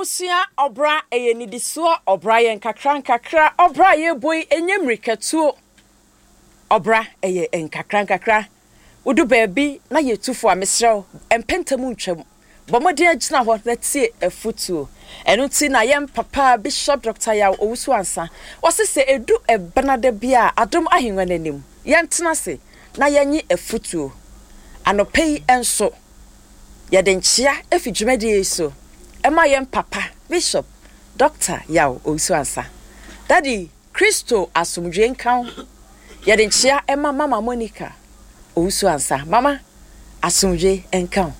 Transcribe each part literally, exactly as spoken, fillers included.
Abusua, ɔbra ɛyɛ nidisoɔ, ɔbra yɛ nkakra nkakra, ɔbra yɛbɔ yi ɛnyɛ mmirikatuo. Ɔbra ɛyɛ nkakra nkakra. Wodu baabi na yɛtu fo a, mesrɛ wo, mpɛntɛm ntwam. Bɔ mmɔden agyina hɔ na tie afotuo. Ɛno nti na yɛn papa Bishop Doctor Yaw Owusu Ansa, wɔse sɛ ɛdu ɛbenada bi a, Adom Ahengua no anim, yɛntena ase na yɛnye afotuo. Anɔpa yi nso, yɛde nkyea efi dwumadie yi so ɛma yɛn papa Bishop Doctor Yaw Owusu Ansa. Daddy, Kristo asomdwe nka wo. Yɛde nkyea ɛma Mama Monica Owusu Ansa. Mama, asomdwe nka wo.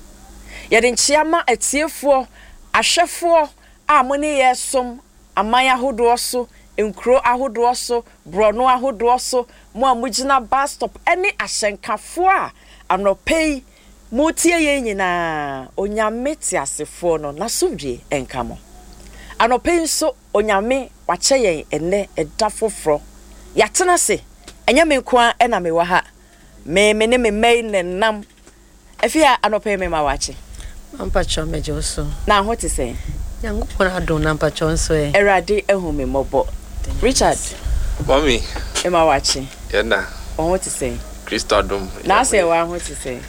Yɛde nkyea ma atiefoɔ, ahwɛfoɔ a mo ne yɛ som aman ahodoɔ so, nkuro ahodoɔ so, borɔno ahodoɔ so, mo a mogyina bus stop ne ahyɛnkafoɔ a anɔpa yi motie yɛn nyinaa, Onyame teasefoɔ no n'asomdwe nka mo. Anɔpa yi nso, Onyame wakyɛ yɛn ɛnɛ ɛda foforɔ. Yɛatena ase, ɛnyɛ me nko ara ɛna mewɔ ha. Me me ne me mma yi ne nam. Afei a anɔpa yi mema wakye. Mpakyɛw, megye wo so. Na ho te sɛn? Nyankopɔn adom, na mpakyɛw nso ɛ? Awurade ahu me mmɔbɔ. Richard. Mami. Mema wakye. Yɛna. Wo ho te sɛn? Kristo adom. Na sɛ wa ho te sɛn?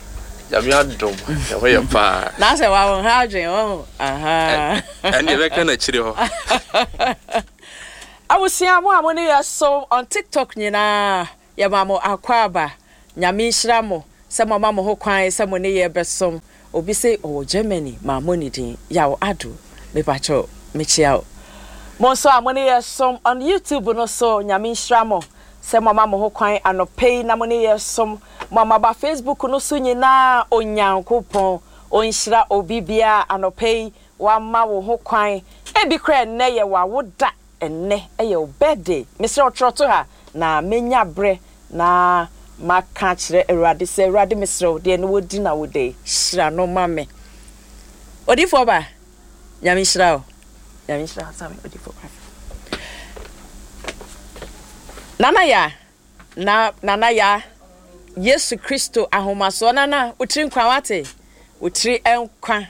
Nyame adom. Yɛ ho yɛ paa. Na sɛ wa wo ha adwen wo ho. Aha. Ɛne yɛbɛka n'akyire hɔ. Abusua, mo a mo ne yɛ so on TikTok nyinaa, yɛma mo akwaaba. Nyame nhyira mo sɛ mo ama mo ho kwan sɛ mo ne yɛ bɛsom. Obi sɛ ɔwɔ Germany, ma mo ne din Yaw Ado, mepakyɛw, mekyia wo. Mo nso a mo ne yɛ som on YouTube no so, Nyame nhyira mo sɛ mo ama mo ho kwan anɔpa yi na mo ne yɛ som. Mo a moaba Facebook no so nyinaa, Onyankopɔn ɔnhyira obi biara anɔpa yi wama wo ho kwan. Ebi koraa ɛnnɛ yɛ w'awoda, ɛnnɛ ɛyɛ wo birthday. Mesrɛ wo, twerɛ to ha na menya berɛ na maka kyerɛ Awurade sɛ, Awurade, mesrɛ wo, deɛ ne wɔdi na wo da yi, hyira no ma me. Odiyifoɔ ba, Nyame nhyira wo. Nyame nhyira wo. Sami odiyifoɔ ba. Nana ya na Nana ya, Yesu Kristo ahomasoɔ. Nana, wotiri nkwa, wate, wotiri nkwa.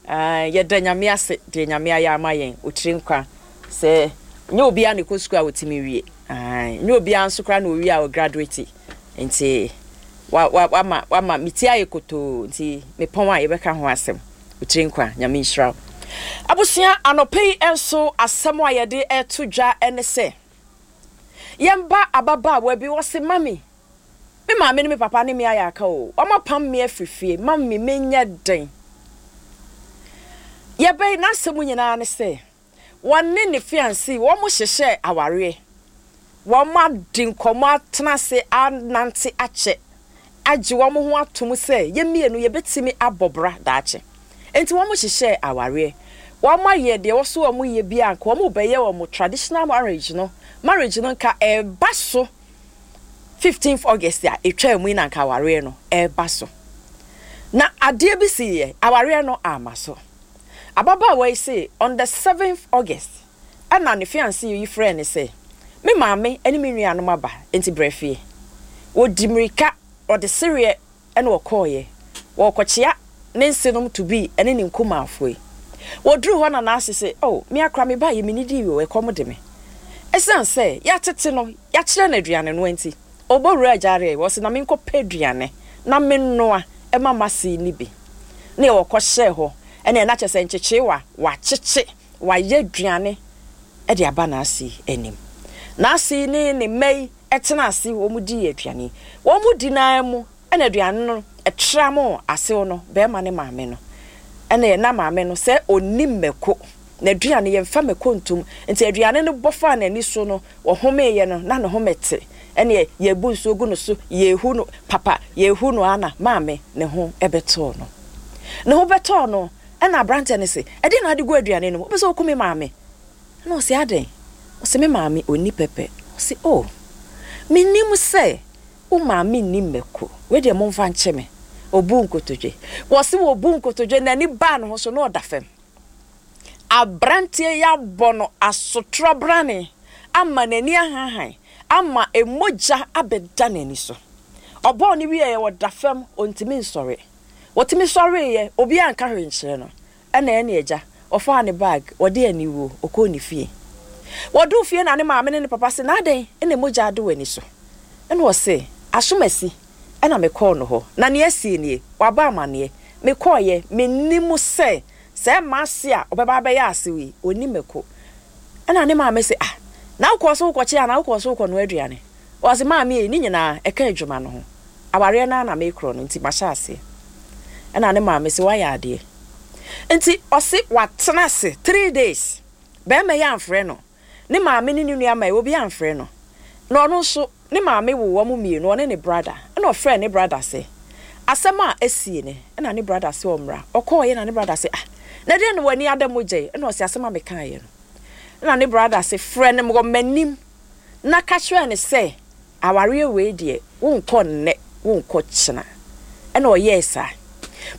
Yɛda Nyame ase deɛ Nyame ayɛ ama yɛn. Wotiri nkwa sɛ nyɛ obiara na ɛkɔ sukuu a wɔtumi wie, nyɛ obiara nso koraa na owie a ɔgraduate, nti wa wa wama wama me ti ayɛ kotoo, nti mepɔn a yɛbɛka ho asɛm. Wotiri nkwa, Nyame nhyira wo. Abusua, anɔpa yi nso asɛm a yɛde ɛto dwa ne sɛ yɛmba ababaawa bi, wɔse, "Mami, me maame ne me papa ne me ayɛ aka o, wɔn apam me afiri fie. Mami, menyɛ den?" Yɛbɛyi n'asɛm nyinaa ne sɛ wɔne ne fiancé wɔn hyehyɛ awareɛ, wɔn adi nkɔmɔ, atena ase, anante akyɛ, agye wɔn ho atom sɛ yɛn mmienu yɛbɛtumi abɔ bra daakye, nti wɔn hyehyɛ awareɛ. Wɔn ayɛ deɛ wɔso wɔn yɛ bi a nka wɔn bɛyɛ wɔn traditional marriage no. Marriage no nka ɛɛba so fifteenth August a etwa mu yi na nka awareɛ no ɛɛba so, na adeɛ bi si yɛ awareɛ no ama so. Ababaawa yi sɛ on the seventh August ɛna ne fiancé yi frɛ ne sɛ, "Me maame ne me nuanom aba, nti brɛ fie." Wɔdi mmirika, ɔde sereɛ ɛna ɔkɔɔyɛ wɔkɔkyea ne nsenom to bi ɛne ne nkumaafoɔ yi. Wɔduru hɔ na n'ase sɛ, "Oh, me akora, me ba yɛ me nidi yi o, ɛkɔm de me." Ɛsiane sɛ yɛatete no, yɛakyerɛ no aduane no nti, ɔbɔ wura agyareɛ, wɔsi na menkɔpɛ aduane na menoa ɛma m'ase ni bi ne wɔkɔhyɛɛ hɔ. Ɛna ɛna kyerɛ sɛ nkyekyeewa wakyekye, wayɛ aduane ɛde aba n'ase anim. N'ase ne ne mma yi ɛtena ase, wɔn di aduane. Wɔn di nan mu ɛna aduane no ɛtra mo asew no, bɛrima ne maame no ɛna ɛna maame no sɛ onim mako na aduane yɛmfa mako ntom, nti aduane no bɔ faa n'ani so no, wɔhomeeɛ no na ne home te. Ɛne yɛbu nsuo gu no so, yɛhu no papa, yɛhu no ana maame ne ho ɛbɛtɔɔ no, ne ho bɛtɔɔ no. Ɛna aberanteɛ no se, "Ɛdeɛ na ade gu aduane no mu? Wopɛ sɛ woku me maame?" Ɛna ɔse, "Adɛn?" Ɔse, "Me maame ɔnni pɛpɛ." Ɔse, "Oh, menim sɛ wo maame nni mmako. Wei deɛ, momfa nkyɛ me." Ɔbu nkotodwe, wɔse wɔbu nkotodwe, n'ani baa ne ho so na ɔda fam. Aberanteɛ yi abɔ no asotorɔ brane ama n'ani ahahan, ama emogya abɛda n'ani so. Ɔbɔɔ ne wieɛ, ɔda fam, ɔntumi nsɔre. Wɔtumi sɔreeɛ, obiara nka hwee nkyerɛ no. Ɛna ɛne agya Ɔfaa ne bag, ɔde aniwuo, ɔkɔɔ ne fie. Wɔduu fie na ne maame ne ne papa se, na adɛn na mogya ade w'ani so? Ɛna ɔse, asomasi ɛna mekɔɔ no hɔ. Na nea asie nie, waba amanneɛ. Mekɔɔyɛ, mennim sɛ sɛ mmaase a ɔbɛba abɛyɛ asew yi, ɔni mako. Ɛna ne maame se, ah, na wokɔɔ so wokɔkye anaa wokɔɔ so wokɔnoa aduane? Ɔse, maame yi, ne nyinaa ɛka adwuma no ho. Awareɛ no ara na mekorɔ no nti mahyɛ aseɛ. Ɛna ne maame se, wayɛ adeɛ. Nti ɔse watena ase three days. Bɛrima yi amfrɛ no. Ne maame ne ne nua ma yi, obi amfrɛ no. Na ɔno nso, ne maame wo wɔn mmienu, ɔne ne brother. Ɛna ɔfrɛ ne brother sɛ, asɛm a esie ne, ɛna ne brother sɛ ɔmmra. Ɔkɔɔyɛ na ne brother sɛ, ah, na deɛ na w'ani ada mogya yi? Ɛna ɔse asɛm a mekaeɛ no. Ɛna ne brother sɛ, frɛ no wɔ m'anim na ka kyerɛ ne sɛ, awareɛ wei deɛ, wonkɔ nnɛ, wonkɔ kyena. Ɛna ɔyɛɛ saa.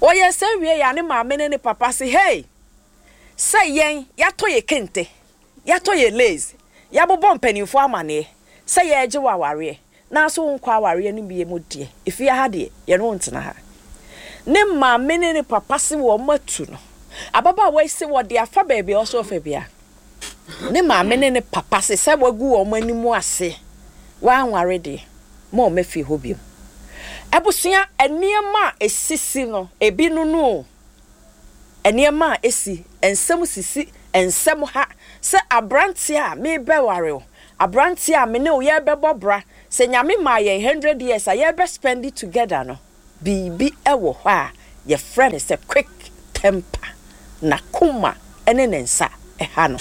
Ɔyɛɛ saa wie yɛ a ne maame ne ne papa sɛ, hey, sɛ yɛn yɛatɔ yɛ kente, yɛatɔ yɛ lace, yɛabobɔ mpanimfoɔ amanneɛ sɛ yɛregye wɔ awareɛ, nanso wonkɔ awareɛ no bie mu deɛ, efie ha deɛ, yɛne wo ntena ha. Ne maame ne ne papa se wɔn atu no. Ababaawa yi se wɔde afa baabi a ɔsɔ ɔfa bia. Ne maame ne ne papa se sɛ wagu wɔn anim ase, wanware deɛ, ma wɔn afie hɔ biom. Abusua, nneɛma a esisi no, ebi no no o. Nneɛma a esi, nsɛm sisi, nsɛm ha, sɛ aberanteɛ a mebɛware wo, aberanteɛ a me ne wo yɛbɛbɔ bra, sɛ Nyame maa yɛn hundred years a yɛbɛ spend it together no, biribi wɔ hɔ a yɛfrɛ no sɛ quick temper, na koma ne ne nsa ɛha no.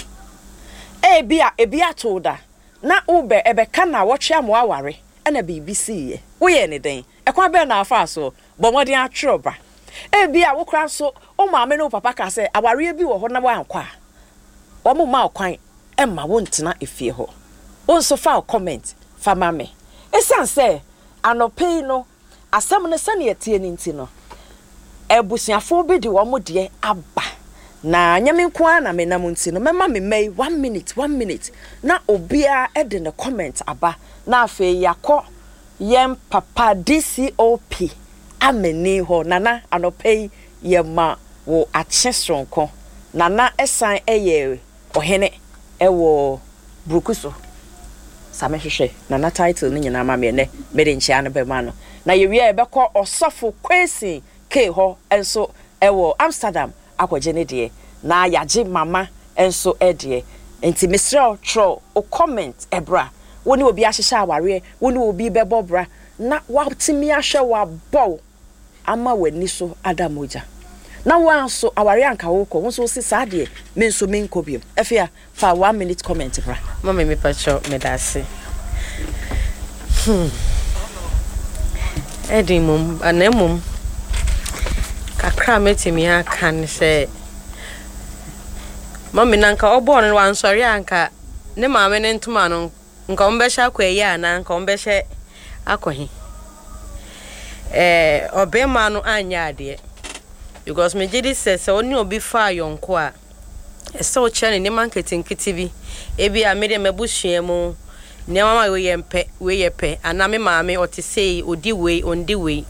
Ebi a ebi ato da, na wobɛ ɛbɛka na wɔtwe ama aware, ɛna biribi siiɛ. Woyɛ ne dɛn? Ɛkwan bɛn na afa so? Bɔ mmɔden atwerɛ ba. Ebi a wokora nso, wo maame ne wo papa ka sɛ awareɛ bi wɔ hɔ na woankɔ a, wɔn mma wo kwan mma wontena efie hɔ. Wo nso fa wo comment fa ma me. Esiane sɛ anɔpa yi no, asɛm no sɛnea ɛteɛ no nti no, abusuafoɔ bi de wɔn deɛ aba. Na nyɛ me nko ara na menam nti no, mɛma me mma yi one minute, one minute, na obiara de ne comment aba. Na afei yɛakɔ yɛn papa D C O P amani hɔ. Nana, anɔpa yi yɛma wo akye soronko. Nana ɛsan ɛyɛ ɔhene ɛwɔ Buruku so. Sa mehwehwɛ Nana title no nyinaa ma me ɛnɛ, mede nkyea no bɛma no. Na yɛwie a yɛbɛkɔ Ɔsɔfo Kwesi K hɔ nso ɛwɔ Amsterdam akɔgye ne deɛ. Na yɛagye mama nso deɛ. Nti mesrɛ wo, twerɛ wo comment ɛbra. Wo ne obi ahyehyɛ awareɛ, wo ne obi bɛbɔ bra, na watumi ahwɛ wabɔ wo ama w'ani so ada mogya. Na wo nso awareɛ anka wokɔ, wo nso wo se saa deɛ, me nso menkɔ biom. Afei a, fa one minute comment bra. Mami, mepakyɛw, meda ase. Hmm. Ɛdi mmom, na mmom kakra a mɛtumi aka ne sɛ mami na nka ɔbɔɔ no wansɔre a, nka ne maame ne ntoma no nka ɔmbɛhyɛ akɔ ayi anaa nka ɔmbɛhyɛ akɔ he. Ɛɛ ɔbɛrima no anyɛ adeɛ because megye di sɛ sɛ ɔne obi fa ayɔnko a, ɛsɛ ɔkyerɛ ne nneɛma nketenkete bi. Ebi a mede m'abusua mu nneɛma ma wei yɛ mpɛ, wei yɛ pɛ, anaa me maame ɔte sei, odi wei, ondi wei,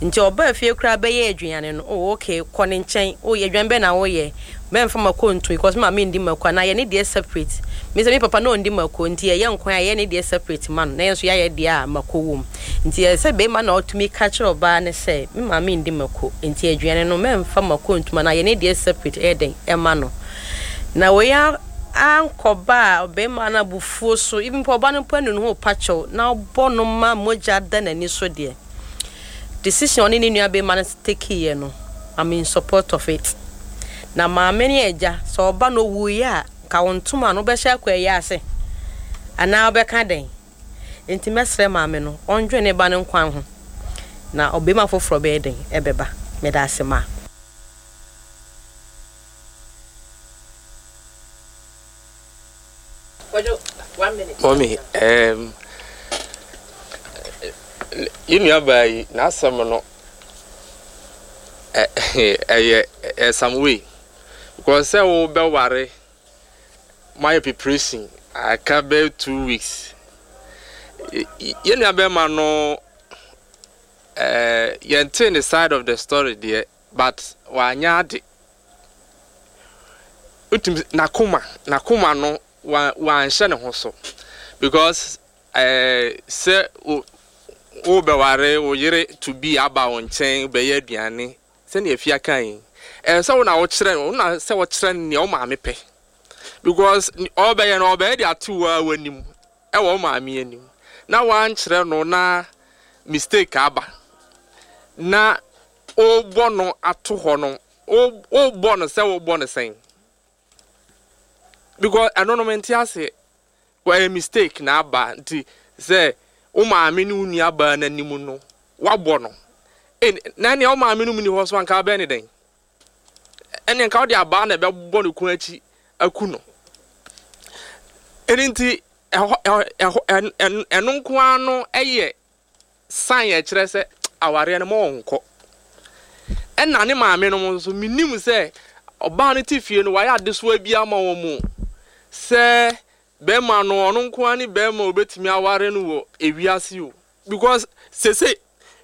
nti ɔbaa fie koraa bɛyɛ aduane no, oh okay, kɔ ne nkyɛn, oh aduane bɛn na woyɛ? Mɛmfa mako nto because me maame ndi mako, anaa yɛ ne deɛ separate. Me sɛ me papa na ɔndi mako, nti yɛyɛ nkwan a, yɛyɛ ne deɛ separate ma no, na yɛn nso yɛayɛ deɛ a mako wɔ mu. Nti ɛsɛ sɛ bɛrima na ɔtumi ka kyerɛ ɔbaa ne sɛ me maame ndi mako, nti aduane no mɛmfa mako ntom anaa yɛ ne deɛ separate ɛyɛ dɛn ɛma no. Na wei ankɔba a, ɔbɛrima no abufuo so, even mpo ɔbaa no mpo anu ne ho pa kyɛw na ɔbɔ no ma mogya da n'ani so deɛ, decision ɔne ne nua bɛrima no take yɛ no, I'm in support of it. Na maame ne agya sɛ ɔba no owuiɛ a, ka wo ntoma no wobɛhyɛ akɔ ɛyɛ ase anaa wobɛka dɛn? Nti mɛsrɛ maame no ɔndwene ne ba no nkwan ho na ɔbɛrima foforɔ bɛyɛ dɛn ɛbɛba. Meda ase ma. One minute. Mɔmi, um, yɛn nuabaa yi n'asɛm no ɛyɛ ɛ some way because sɛ wobɛware, moayɛ preparation aka bɛyɛ two weeks, yɛn nua bɛrima no, ɛɛ yɛnte ne side of the story deɛ, but wanyɛ ade. Wotumi n'akoma n'akoma no wa wanhyɛ ne ho so because ɛɛ sɛ wo wobɛware wo yere to be aba wo nkyɛn bɛyɛ aduane sɛnea Afia kan yi, ɛɛ sɛ wo na wokyerɛ wo na sɛ wɔkyerɛ nea wo maame pɛ, because ɔbɛyɛ no, ɔbɛyɛ de ato wo a w'anim, ɛwɔ wo maame anim, na wankyerɛ no na mistake aba na wobɔ no ato hɔ no, wobɔ no sɛ wobɔ no sɛn? Because ɛno no mente ase. Wɔyɛ mistake na aba, nti sɛ wo maame ne wo nua baa n'anim no wabɔ no, na nea wo maame no mu ni hɔ so anka bɛn ne dɛn? Ɛne nka wode abaa na ɛbɛbɔ ne kɔn akyi aku no. Ɛno nti ɛhɔ ɛhɔ ɛno nko ara no ɛyɛ sign ɛkyerɛ sɛ awareɛ no ma ɔnkɔ. Ɛna ne maame no nso, menim sɛ ɔbaa no te fie no, wayɛ adesoa bi ama wɔn mu sɛ bɛrima no, ɔno nko ara ne bɛrima a obetumi aware no wɔ ewiase o, because sese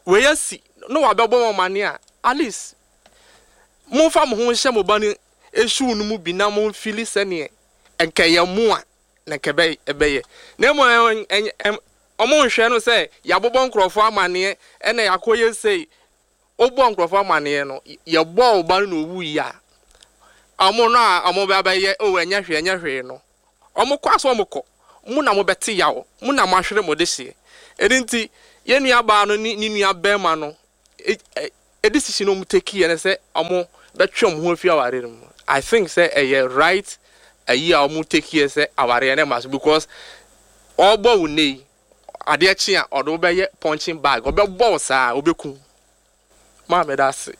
wei asi na wabɛbɔ wɔn amane a, at least momfa mo ho nhyɛ mo ba no shoe no mu bi na momfili sɛneɛ nkɛyɛ mo a na nkɛ ɛbɛyɛ. Na mmom ɔmo nhwɛ no sɛ yɛabobɔ nkurɔfoɔ amanneɛ ɛna yɛakɔyɛ sei. Wobɔ nkurɔfoɔ amanneɛ no, yɛbɔ wo ba no na owu yi a, ɔmo no a ɔmo bɛ bɛyɛ o, ɛnyɛ hwee, ɛnyɛ hwee no, ɔmo kɔ aso, ɔmo kɔ mo na mo bɛte yaw mo na mo ahwere mo de hyeɛ. Ɛno nti yɛn nua baa no ne ne nua bɛrima no e decision ɔmo take yɛ no sɛ ɔmo bɛtwe ɔmo ho afi awareɛ no mu, I think sɛ ɛyɛ right ayi a ɔmo take yɛ sɛ awareɛ no ma so, because ɔbɔ wo ne yi, adeɛ kye a ɔde wo bɛyɛ punching bag, ɔbɛbɔ wo saa, ɔbɛku maa mɛda ase.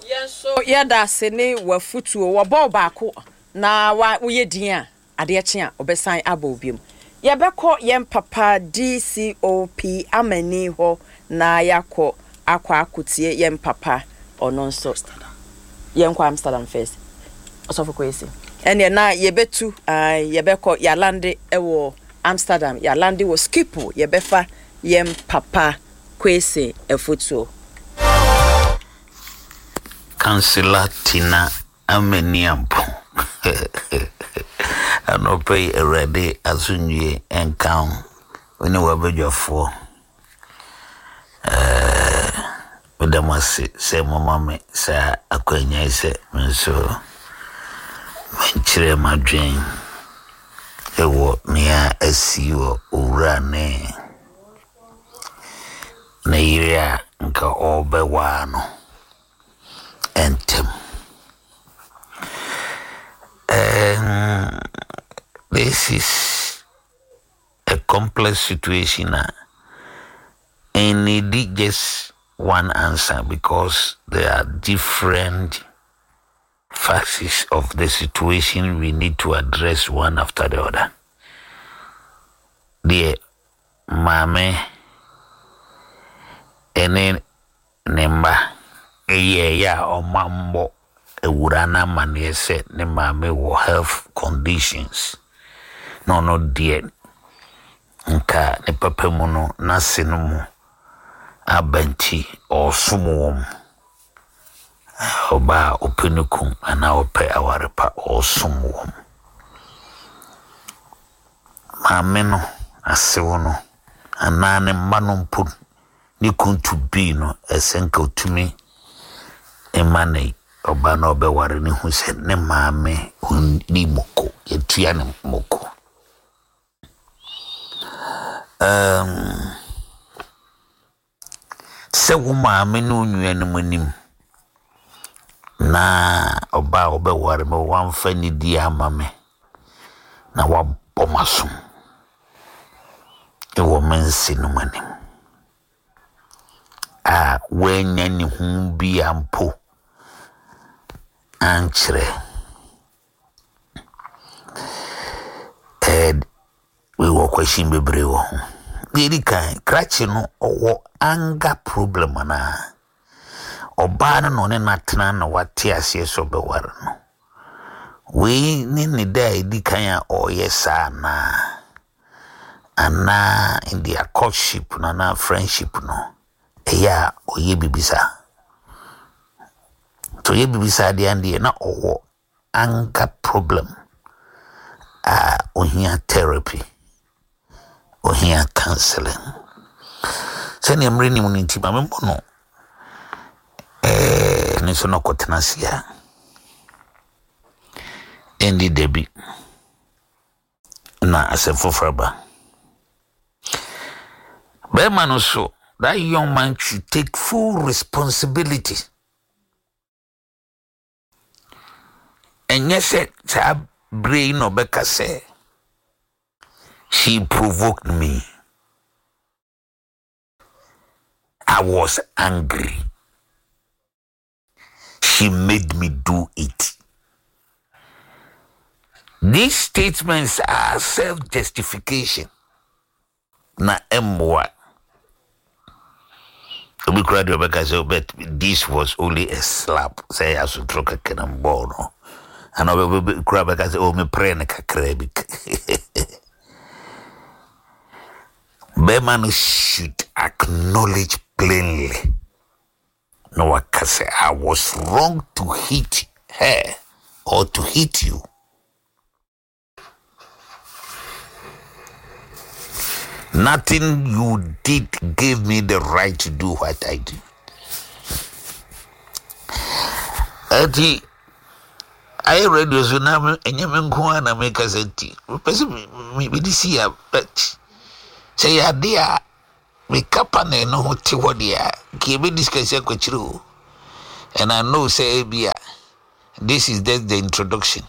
Yɛn nso yɛda ase ne wafutuo. Wɔbɔ baako na wa woyɛ din a, adeɛ kye a ɔbɛsan abɔ obiom. Yɛbɛkɔ yɛn papa D C O P Amani hɔ na yɛakɔ akɔ akɔtie yɛn papa. Ɔno nso yɛnkɔ Amsterdam first. Ɔsɔfo Kwesi, ɛneɛ na yɛbɛtu, yɛbɛkɔ, yɛalande ɛwɔ Amsterdam, yɛalande wɔ Schiphol. Yɛbɛfa yɛn papa Kwesi afotuo. Councillor Tina Amaniampo, anɔpɛ yi Awurade asomdwie nka wo, wo ne w'abadwafoɔ. Meda mo ase sɛ moma me saa akwanya yi sɛ me nso menkyerɛ m'adwen ɛwɔ nea asi wɔ owura ne ne yere a nka ɔrebɛwaa no ntɛm. Um, this is a complex situation uh, and need just one answer because there are different facets of the situation we need to address one after the other. Deɛ maame ɛne ne mma ɛyɛ ɛyɛ a ɔma mbɔ awura no amanneɛ sɛ ne maame wɔ health conditions na ɔno deɛ nka ne papa mu no n'ase no mu aba nti ɔresom wɔn. Ɔbaa a ɔpɛ ne kum anaa ɔpɛ aware pa, ɔresom wɔn. Maame no asew no anaa ne mma no mpo ne kun to bii no, ɛsɛ nka otumi mma ne ɔbaa no a ɔbɛware ne hu sɛ ne maame ɔnni moko, yɛtua ne moko. Um, sɛ wo maame ne wo nuanom anim na ɔbaa a ɔbɛware me wamfa nidi ama me na wabɔ m'asom ɛwɔ me nse no mu anim a wanya ne ho bi ampo ankyerɛ ɛɛ wɔ question bebree wɔ ho. Deɛ ɛdi kan, krakye no ɔwɔ anger problem anaa ɔbaa no na ɔne n'atena na wate aseɛ sɛ ɔbɛware no? Wei ne ne da a ɛdi kan a ɔreyɛ saa anaa anaa in their courtship no anaa friendship no ɛyɛ a ɔyɛ biribi saa? Nti ɔyɛ biribi saa deɛ, deɛ na ɔwɔ Anger problem a ohia therapy, ohia counseling. Sɛnea mmerɛ nim no nti, ma memmɔ no ɛɛ ne nso no ɔkɔtena ase a ɛndi dabi na asɛm foforɔ ba. Bɛrima no so, that young man should take full responsibility. Ɛnyɛ sɛ saa bere yi na ɔbɛka sɛ she provoked me, I was angry, she made me do it. These statements are self-justification na ɛmmoa. Obi kura deɛ ɔbɛka sɛ, but this was only a slap, sɛ ɛyɛ asotoro kɛkɛ na mbɔɔ no, ana ɔbɛ kura bɛka sɛ, oh, meprɛ no kakra bi. Bɛrima no should acknowledge plainly na waka sɛ, I was wrong to hit her or to hit you. Nothing you did gave me the right to do what I do. Eti ayɛ radio so na ɛnyɛ me nko ara na meka sɛ nti mepɛ sɛ mede si a, but sɛ yɛ ade a meka panel no ho te hɔ deɛ a, nka yɛbɛdiscuss akɔkyerɛ o. And I know sɛ ebi a this is just the introduction.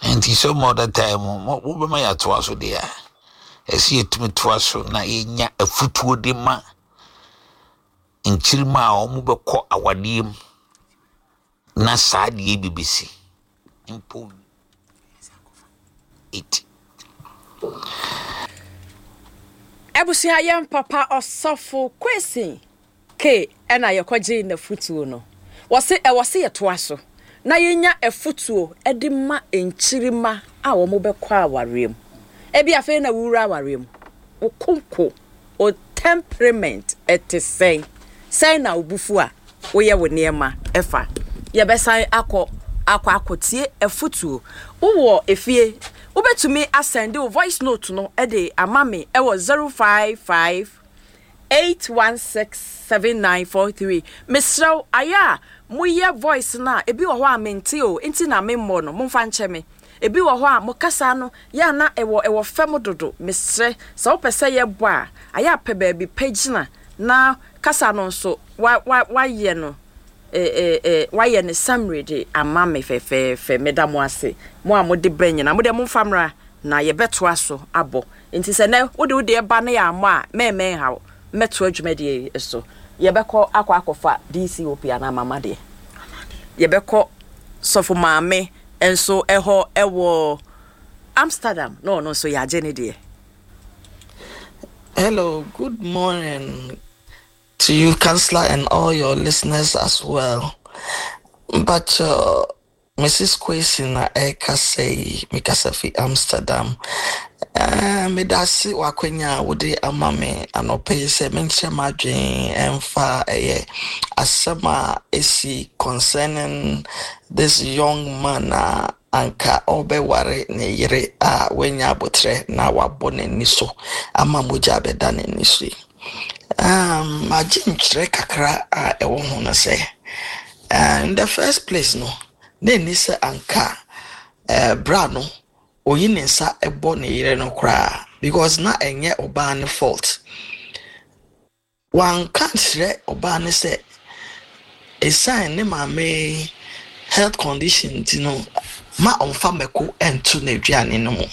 Nti some other time wobɛma yɛatoa so deɛ a, ɛsɛ yɛtumi toa so na yɛnya afutuo de ma nkyirima a wɔn bɛkɔ awadeɛ mu na saa deɛ bi bɛsi mpo it. Abusua, yɛn papa Ɔsɔfo Kwesi K ɛna yɛkɔgye n'afutuo no. Wɔse ɛwɔ se yɛtoa so na yɛnya afutuo de ma nkyirima a wɔn bɛkɔ awareɛ mu. Ebi afei na wura awareɛ mu, wo konko, wo temperament ɛte sɛn, sɛn na wo bufu a woyɛ wo nneɛma ɛfa. Yɛbɛsan akɔ akɔ akɔtie afutuo. Wowɔ efie, wobɛtumi asend wo voice note no de ama me ɛwɔ zero five five eight one six seven nine four three. Mesrɛw, ayɛ a moyɛ voice no a, ebi wɔ hɔ a mente o, nti na memmɔ no, momfa nkyɛ me. Ebi wɔ hɔ a mo kasa no yɛ ana ɛwɔ ɛwɔ fam dodo. Mesrɛ sɛ wopɛ sɛ yɛbɔ a, ayɛ apɛ baabi pɛ gyina na kasa no nso wa wa wayɛ no ɛɛ ɛɛ wayɛ ne summary de ama me fɛfɛɛfɛ. Meda mo ase, mo a mode brɛ nyinaa. Mo deɛ, momfa mmra na yɛbɛtoa so abɔ. Nti sɛ nɛ wode wode ɛba ne yɛ ammɔ a, mɛɛmɛn haw, mɛtoa dwumadie yi so. Yɛbɛkɔ akɔ akɔfa D C O P anaa mama deɛ, yɛbɛkɔ Sɔfo Maame nso ɛhɔ ɛwɔ Amsterdam na ɔno nso yɛagye ne deɛ. Hello, good morning to you, Counselor, and all your listeners as well. But uh, Missus Kwesi na ɛkasa yi, mekasa fi Amsterdam. Uh, meda ase w'akwanya a wode ama me anɔpa yi sɛ menkyerɛ m'adwen ɛmfa ɛyɛ asɛm a ɛsi concerning this young man a anka ɔbɛware ne yere a wanya abotire na wabɔ n'ani so ama mogya abɛda n'ani so yi. Um, magye nkyerɛ kakra a ɛwɔ ho no sɛ uh, in the first place no, na ɛni sɛ anka uh, bra no oyi ne nsa bɔ ne yere no koraa, because na ɛnyɛ ɔbaa ne fault. Wanka nkyerɛ ɔbaa no sɛ ɛsiane ne maame health condition nti no, ma ɔmfa mako nto n'aduane no mu.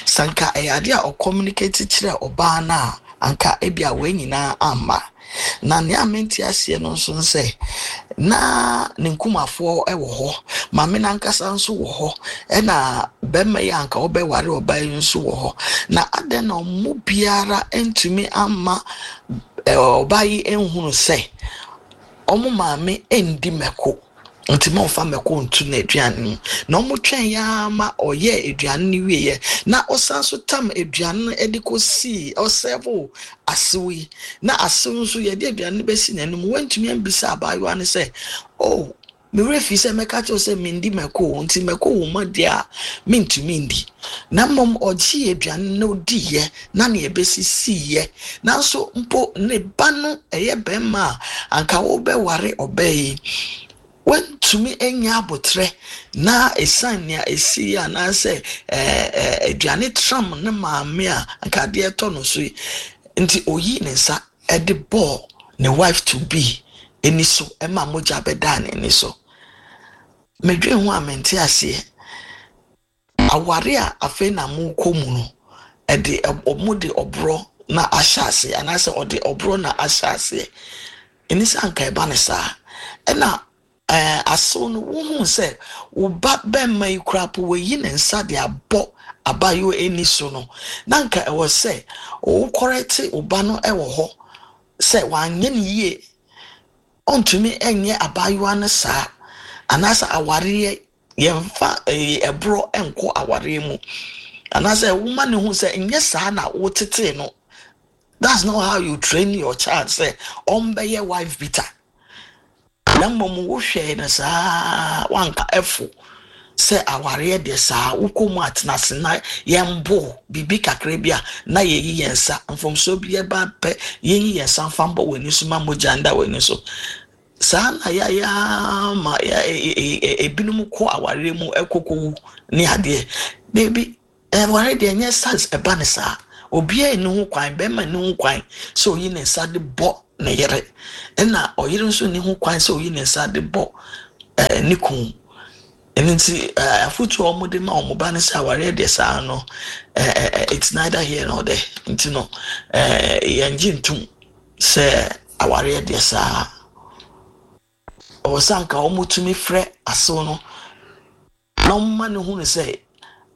Sanka ɛyɛ adeɛ a ɔcommunicate kyerɛ ɔbaa no a, anka ebia wei nyinaa amma. Na nea mente aseɛ no nso sɛ na ne nkumafoɔ wɔ hɔ, maame nankasa nso wɔ hɔ, ɛna bɛrima yi anka ɔbɛware ɔbaa yi nso wɔ hɔ, na adɛn na ɔmo biara ntumi ama ɔbaa yi nhunu sɛ ɔmo maame ndi mako, nti ma ɔfa mako nto n'aduane mu? Na ɔmo twɛn ya ma ɔyɛ aduane no wieɛ na ɔsan so tam aduane no de kɔsii ɔserve asew yi, na asew nso yɛde aduane no bɛsi n'anim, wɔntumi ambisa abaayewa no sɛ, oh, Me werɛ fi sɛ mɛka kyerɛ sɛ mendi mako nti mako wɔ mu adeɛ a mentumi ndi. Na mmom ɔgyee aduane na odiiɛ na nea ɛbɛsisiiɛ. Nanso mpo ne ba no ɛyɛ bɛrima a anka wobɛware ɔbaa yi, wantumi anya abotrɛ na ɛsiane nea ɛsii anaasɛ ɛɛ ɛɛ aduane tram ne maame a anka adeɛ tɔ no so yi nti, oyii ne nsa ɛde bɔɔ ne wife to be ani so ɛma mogya bɛdaa n'ani so. Medwen ho a mente aseɛ. Aware a afei na mokɔ mu no, ɛde ɔmo de ɔborɔ na ahyɛ aseɛ anaasɛ ɔde ɔborɔ na ahyɛ aseɛ. Ɛni sɛ anka ɛba ne saa. Ɛna ɛɛ asew no, wohu sɛ wo ba bɛrima yi koraa po wɔyi ne nsa de abɔ abaayewa ani so no, na nka ɛwɔ sɛ wokɔrɛte wo ba no ɛwɔ hɔ sɛ wanyɛ ne yie, ɔntumi ɛnyɛ abaayewa no saa, anaasɛ awareɛ yɛmfa ɛyɛ ɛborɔ ɛnkɔ awareɛ mu, anaasɛ woma ne ho sɛ nyɛ saa na wotetee no. That's not how you train your child sɛ ɔmbɛyɛ wife beater. Na mmom wohwɛ no saa, wanka ɛfo sɛ awareɛ deɛ saa wokɔ mu atena ase na yɛmbo biribi kakra bi a na yɛyi yɛn nsa, mfomsoɔ bi ɛba pɛ, yɛnyi yɛn nsa mfa mbɔ w'ani so ma mogya nda w'ani so. Saa na yɛayɛ ma ebinom kɔ awareɛ mu ɛkɔkɔwu ne adeɛ beebi. Ɛware deɛ nyɛ size ɛba ne saa. Obiara nni ho kwan, bɛrima nni ho kwan sɛ oyi ne nsa de bɔ ne yere, ɛna ɔyere nso nni ho kwan sɛ oyi ne nsa de bɔ ɛɛ ne kun. Ɛno nti ɛɛ afotuo a wɔde ma wɔn ba no sɛ awareɛ deɛ saa no, ɛɛ ɛɛ it's neither here nor there. Nti no ɛɛ yɛn gye ntum sɛ awareɛ deɛ saa ɔwɔ sɛ anka wɔn tumi frɛ asew no na wɔn ma ne hu no sɛ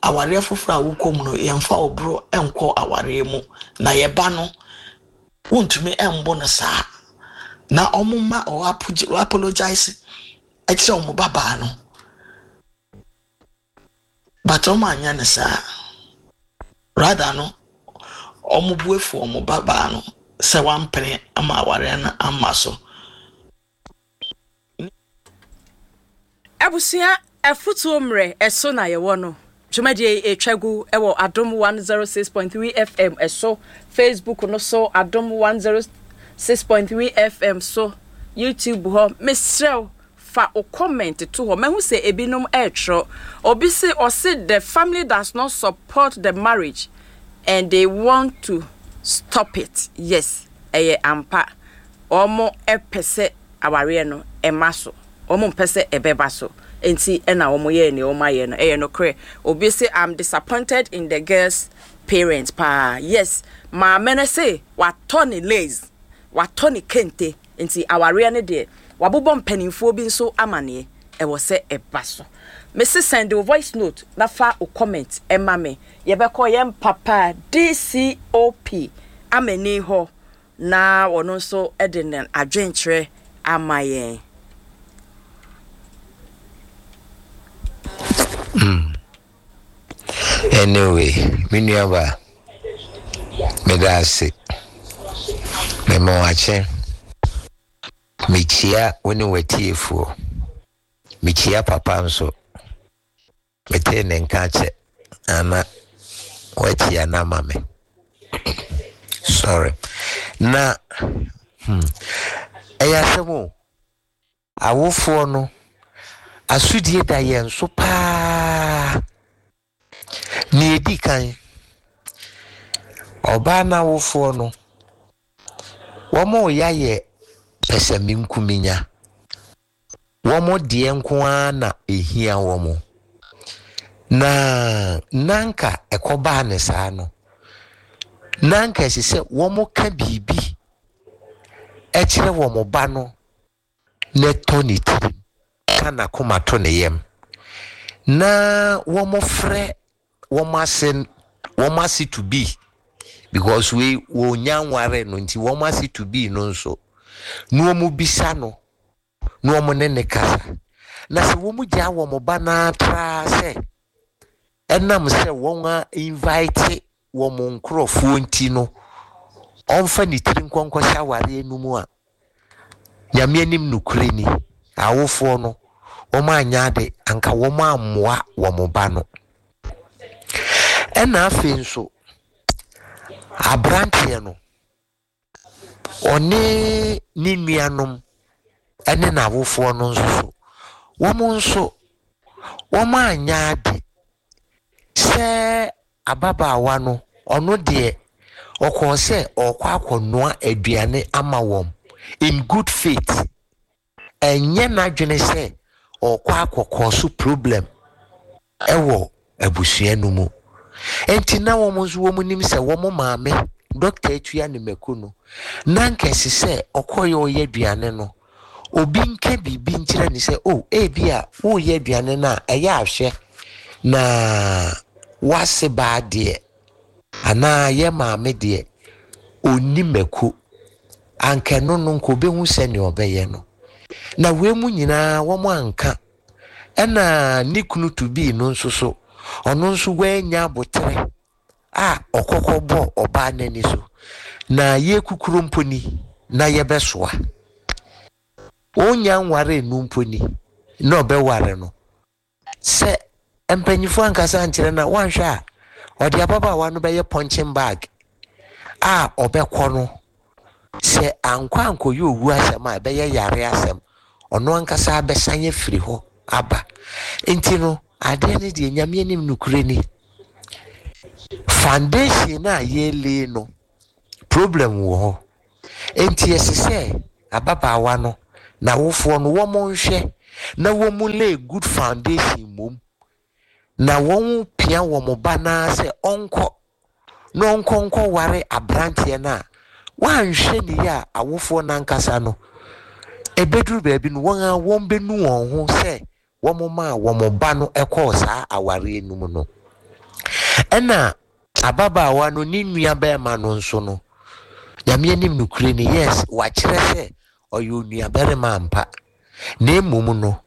awareɛ foforɔ a wokɔ mu no, yɛmfa ɔboro nkɔ awareɛ mu, na yɛba no wontumi mbɔ no saa, na wɔn ma ɔ apologize ɛkyerɛ wɔn babaa no. But wɔn anyɛ no saa. Rather no, wɔn bu efu wɔn babaa no sɛ wampene ama awareɛ no ama so. Abusua, afutuo mmerɛ ɛso na yɛwɔ no. Dwumadie ɛtwa gu ɛwɔ Adom one oh six point three F M ɛso, Facebook no so, Adom one oh six point three F M so, YouTube hɔ. Mesrɛw, fa o comment to hɔ. Mahu sɛ ebinom ɛretwerɛ. Obi se ɔse the family does not support the marriage and they want to stop it. Yes, ɛyɛ ampa, wɔn ɛpɛ sɛ awareɛ no ɛma so, wɔn mpɛ sɛ ɛbɛba so, nti ɛna wɔn yɛ nea wɔn ayɛ no. Ɛyɛ nokorɛ. Obi se, "I'm disappointed in the girls' parents paa." Yes, maame no se watɔ ne lace, watɔ ne kente, nti awareɛ no deɛ, wabobɔ mpanimfoɔ bi nso amaneɛ, ɛwɔ sɛ ɛba so. Mesi send wo voice note na fa wo comment ɛma me. Yɛbɛkɔ yɛn papa D C O P amani hɔ na ɔno nso de ne adwenkyerɛ ama yɛn. Mm. Anyway, me nuaba, meda ase. Mema wakye. Mekyia wo ne w'atiefoɔ. Mekyia papa nso. Metee ne nka kyɛ ana wakyia no ama me. Sorry. Na hmm, ɛyɛ asɛm o. Awofoɔ no, asodie da yɛn so paa. Nea edi kan, ɔbaa n'awofoɔ no, wɔn a yɛayɛ pɛsɛmenkominya. Wɔn deɛ nko ara na ehia wɔn. Na nanka ɛkɔbaa ne saa no, nanka ɛsɛ sɛ wɔn ka biribi ɛkyerɛ wɔn ba no na ɛtɔ ne tirim, ka n'akoma to ne yam, na wɔn frɛ wɔn ase wɔn ase to be, because wei wɔnya nware no, nti wɔn ase to be no nso na wɔn bisa no na wɔn ne ne kasa. Na sɛ wɔn gyaa wɔn ba n'atra sɛ ɛnam sɛ wɔn a invite wɔn nkurɔfoɔ nti no, ɔmfa ne tiri nkɔnkɔhyɛ awareɛ no mu a, Nyame anim nokorɛ ni, awofoɔ no Wɔn anyɛ ade anka wɔn ammoa wɔn ba no. Ɛna afei nso aberanteɛ no ɔne ne nuanom ɛne n'awofoɔ no nso so wɔn nso wɔn anyɛ ade sɛ ababaawa no ɔno deɛ ɔkɔɔ sɛ ɔrekɔ akɔnoa aduane ama wɔn in good faith. Ɛnyɛ n'adwene sɛ ɔrekɔ akɔkɔ so problem ɛwɔ abusua no mu. Nti na wɔn nso wɔn nim sɛ wɔn maame Doctor Atua ne mako no na nkɛse sɛ ɔkɔyɛ ɔyɛ aduane no, obi nka biribi nkyerɛ ne sɛ o ebi a woyɛ aduane no a ɛyɛ ahwɛ na wase baa deɛ anaa yɛ maame deɛ onni mako anka no no nka obehu sɛnea ɔbɛyɛ no. Na wei mu nyinaa wɔn anka. Ɛna ne kunu to bii no nso so ɔno nso wanya abotere a ɔkɔkɔ bɔ ɔbaa n'ani so na yɛkukuro mpo ni na yɛbɛsoa onya nware nu mpo ni na ɔbɛware no sɛ mpanyinfoɔ ankasa nkyerɛ na wanhwɛ a ɔde ababaawa no bɛyɛ punching bag a ɔbɛkɔ no sɛ ankɔ ankɔyɛ owu asɛm a ɛbɛyɛ yare asɛm. Ɔno ankasa abɛsan afiri hɔ aba. Nti no adeɛ no deɛ, Nyame anim nokure ni, foundation a yɛlay no, problem wɔ hɔ. Nti ɛsɛ sɛ ababaawa no n'awofoɔ no wɔn nhwɛ na wɔn lay good foundation mom na wɔn pia wɔn ba naa sɛ ɔnkɔ na ɔnkɔ nkɔ ware aberanteɛ no a wɔanhwɛ ne yie a awofoɔ n'ankasa no ebeduru baabi no wɔn a wɔn bɛnu wɔn ho sɛ wɔn maa wɔn ba no kɔɔ saa awareɛ no mu no. Ɛna ababaawa no ne nua bɛrima no nso no, Nyame anim nokure ni, yes, wakyerɛ sɛ ɔyɛ onua barima ampa, na mmom no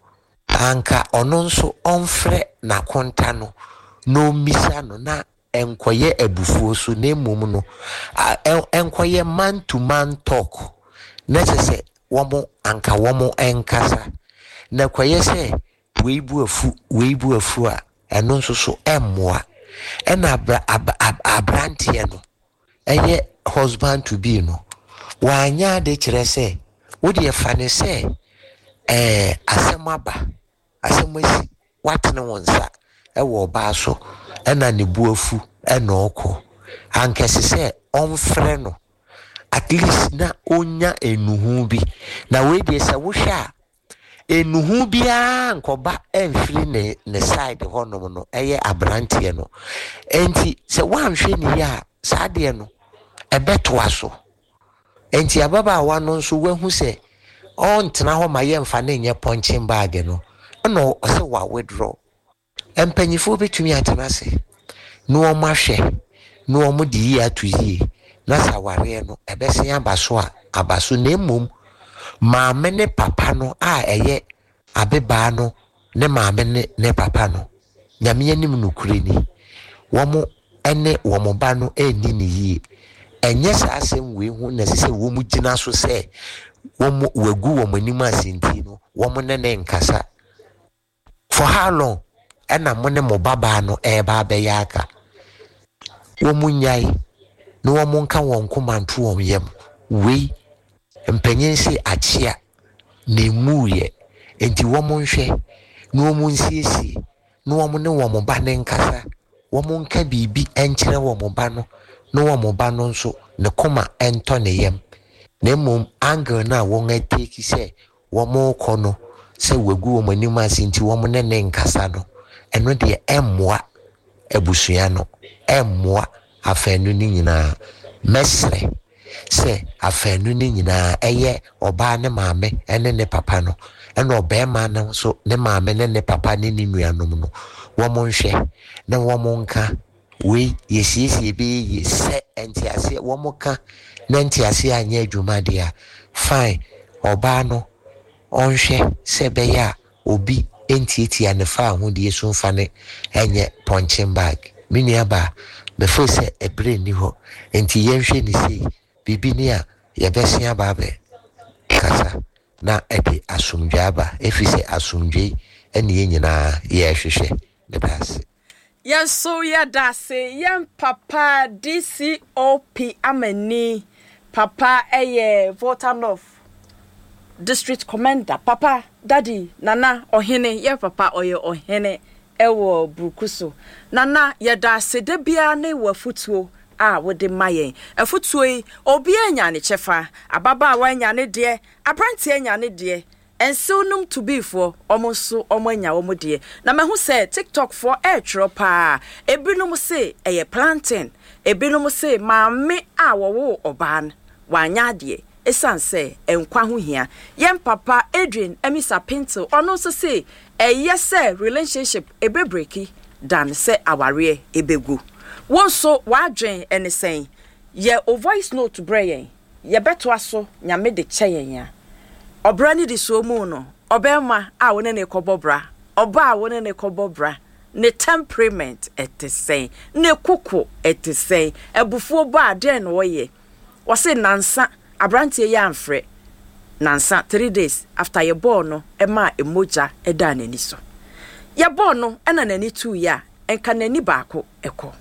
anka ɔno nso ɔmfrɛ n'akonta no na ɔmmisa no na ɛnkɔyɛ abufuo so, na mmom no ɛnkɔyɛ man to man talk na kyerɛ sɛ wɔn anka wɔn nkasa na kɔyɛ sɛ wei bu afu, wei bu afu a ɛno nso so ɛmmoa. Ɛna abra ab ab aberanteɛ no ɛyɛ husband to be no wanyɛ ade kyerɛ sɛ wodeɛ fa ne sɛ ɛɛ asɛm aba, asɛm asi, watene wɔn nsa ɛwɔ ɔbaa so ɛna ne bu afu ɛna ɔkɔ. Ankɛse sɛ ɔmfrɛ no at least na ɔnya enuhu bi. Na wei deɛ, sɛ wohwɛ a enuhu biara nkɔba ɛmfiri ne ne side hɔnom no ɛyɛ aberanteɛ no. Nti sɛ woanhwɛ ne yie a saa adeɛ no ɛbɛtoa so. Nti ababaawa no nso wahu sɛ ɔntena hɔ ma yɛmfa ne nyɛ punching bag no ɛna ɔsɛ wa withdraw. Mpanyinfoɔ bɛtumi atena ase na wɔn ahwɛ na wɔn de yie ato yie na sɛ awareɛ no ɛbɛsen aba so a aba so. Na mmom maame ne papa no a ɛyɛ ababaa no ne maame ne ne papa no, Nyame anim nokure ni, wɔn ne wɔn ba no ɛnni ne yie. Ɛnyɛ saa asɛm wei ho na ɛsɛ sɛ wɔn gyina so sɛ wɔn wagu wɔn anim ase nti no wɔn ne ne nkasa. For how long ɛna mo ne mo babaa no ɛreba abɛyɛ aka? Wɔn nyae na wɔn nka wɔn koma nto wɔn yam. Wei mpanyin se akyea na emu yɛ nti wɔn nhwɛ na wɔn nsiesie na wɔn ne wɔn ba ne nkasa. Wɔn nka biribi nkyerɛ wɔn ba no na wɔn ba no nso ne koma ntɔ ne yam. Na mmom angle no a wɔn atake sɛ wɔn rekɔ no sɛ wagu wɔn anim ase nti wɔn ne ne nkasa no, ɛno deɛ ɛmmoa abusua no, ɛmmoa afɛnu no nyinaa. Mɛsrɛ sɛ afɛnu no nyinaa, ɛyɛ ɔbaa ne maame ɛne ne papa no ɛna ɔbɛrima no nso ne maame ne ne papa ne ne nuanom no, wɔn nhwɛ na wɔn nka wei yɛsiesie bɛyɛ yie. Sɛ nteaseɛ wɔn ka na nteaseɛ anyɛ adwuma deɛ a, fine, ɔbaa no ɔnhwɛ sɛ ɛbɛyɛ a obi ntiatia ne fa ahodie so mfa ne ɛnyɛ punching bag. Me nua baa mefo sɛ ɛberɛ nni hɔ nti yɛnhwɛ ne sei biribi ni a yɛbɛsen aba abɛ kasa na ɛde asomdwe aba, ɛfiri sɛ asomdwe. Ɛne yɛn nyinaa yɛrehwehwɛ. Meda ase. Yɛn nso yɛda ase. Yɛn papa D C O P Amani papa ɛyɛ Volta North District Commander, papa daddy Nana Ɔhene, yɛ papa ɔyɛ ɔhene ɛwɔ Buruku so. Nana, yɛda ase da biara ne wɔ afutuo a wode ma yɛn. Afutuo yi, obiara nya ne kyɛfa. Ababaawa anya ne deɛ, aberanteɛ anya ne deɛ, nsew nom tubiifoɔ ɔmo nso ɔmo anya wɔn deɛ. Na mahu sɛ TikTok foɔ ɛretwerɛ paa. Ebinom se ɛyɛ plantain, ebinom se maame a wɔwɔ ɔbaa no wanya adeɛ, ɛsiane sɛ nkwa ho hia. Yɛn papa Adrian Emisa Pinto, ɔno nso se ɛyɛ sɛ relationship ebebreak dan sɛ awareɛ ebegu. Wɔn nso wadwen ɛne sɛn? Yɛ o voice note brɛ yɛn, yɛbɛtoa so. Nyame de kyɛ yɛn a, ɔbra ne di soɔ mu no, ɔbɛrima a wɔne ne kɔbɔ bra, ɔbaa a wɔne ne kɔbɔ bra, ne temperament ɛte sɛn? Ne koko ɛte sɛn? Abufuo ba a, deɛn na ɔyɛ? Wɔse nansa aberanteɛ yi amfrɛ nansa, three days after yɛbɔɔ no ɛmaa emogya ɛdaa n'ani so. Yɛbɔɔ no ɛna n'ani tuu yɛ a, nka n'ani baako ɛkɔ.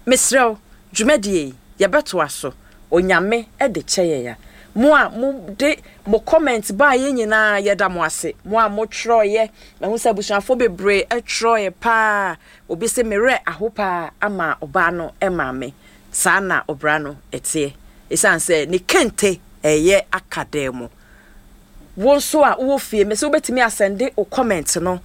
Mesrɛw, dwumadie yi yɛbɛtoa so, Onyame ɛde kyɛ yɛn a. Mo a mo de mo comment baa yɛn nyinaa, yɛda mo ase. Mo a mo twerɛeɛ, mahu sɛ abusuafoɔ bebree ɛtwerɛeɛ paa. Obi sɛ merɛ aho paa ama ɔbaa no ɛma saa na ɔbra no ɛteɛ, ɛsiane sɛ ne kente ɛyɛ aka dan mu. Wo nso a wowɔ fie, mɛ sɛ wobɛtumi asend wo comment no.